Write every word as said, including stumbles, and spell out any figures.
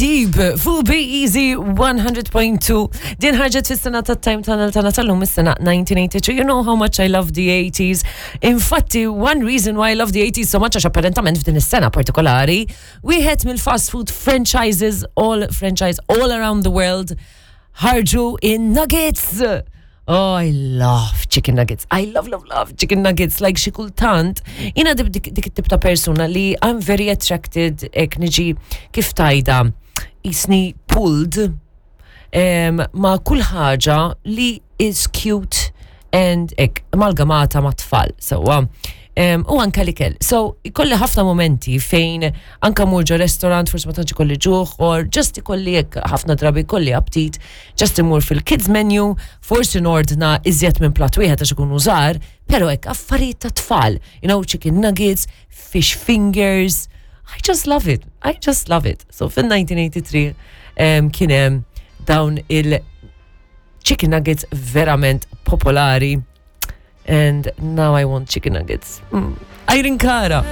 Deep, fuq Be Easy one hundred point two. Din ħarġet fis-sena ta' Time Tunnel tagħna tal-lum, is-sena nineteen eighty-two. You know how much I love the eighties. Infatti, one reason why I love the eighties so much, għax apparentament f'din is-sena partikolari, wieħed mill-fast food franchises, all franchise all around the world, ħarġu in-nuggets. Oh, I love chicken nuggets. I love, love, love chicken nuggets. Like, xi kultant, jiena dik dik it-tip ta' persuna li I'm very attracted, hekk niġi, kif tgħidha, jiġifieri pulled um, ma' kull ħaġa li is cute and hekk amalgamata ma' tfal. So, um, u anka l-ikel. So, ikolli ħafna momenti fejn anka mur ġo restaurant, forsi ma tantx ikolli ġuħ, or just ikolli hekk, ħafna drabi ikolli aptit, just imur fil-kids menu, forsi nordna iżjed minn plat wieħed għax ikunu żgħar, pero hekk affarijiet ta' tfal, you know, chicken nuggets, fish fingers. I just love it. I just love it. So fin-nineteen eighty-three um, kien hemm dawn il chicken nuggets verament popolari. And now I want chicken nuggets. Mm. Irene Cara.